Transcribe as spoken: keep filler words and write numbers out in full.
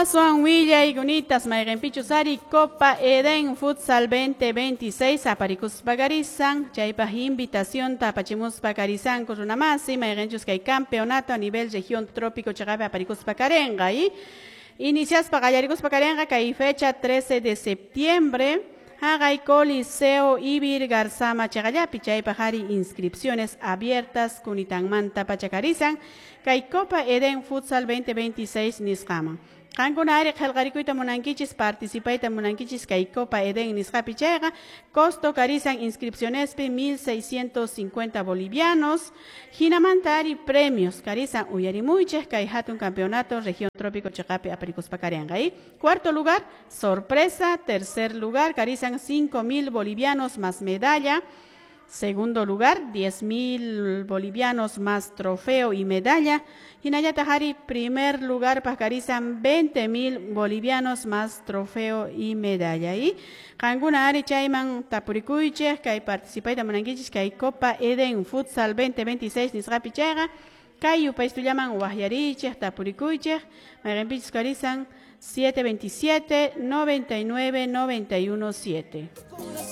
Aswan willay kunitas mayqinpichus ari Copa Eden Futsal dos mil veintiséis aparikuspa karisan, chaypaq invitacionta apachimuspa karisanku, runamasi, mayqinchus kay campeonato a nivel región trópico chaqapi aparikuspa karenqa y iniciaspa qallarikuspa karenqa kay fecha trece de septiembre haqay Coliseo Ivirgarzama chaqallapi. Chaypaq ari inscripciones abiertas kunitanmanta pacha karisan kay Copa Eden Futsal dos mil veintiséis nisqaman. Qankuna ari qillqarikuyta munankichis, participayta munankichis kay Copa Eden nisqapi chayqa, costo karisan inscripcionespi mil seiscientos cincuenta bolivianos. Hinamanta ari premios karisan, uyarimuychik, kay hatun campeonato región trópico chaqapi aparikuspa karenqa y cuarto lugar sorpresa, tercer lugar karisan cinco mil bolivianos más medalla. Segundo lugar, diez mil bolivianos más trofeo y medalla. Hinallataq ari primer lugar paq karisan veinte mil bolivianos más trofeo y medalla. Y qankuna ari chayman tapurikuychik, kay participayta munankichis kay Copa Eden Futsal dos mil veintiséis nisqapi chayqa, kay yupaystullaman waqyarichik, tapurikuychik, mayqinpichus karisan siete veintisiete noventa y nueve noventa y uno siete.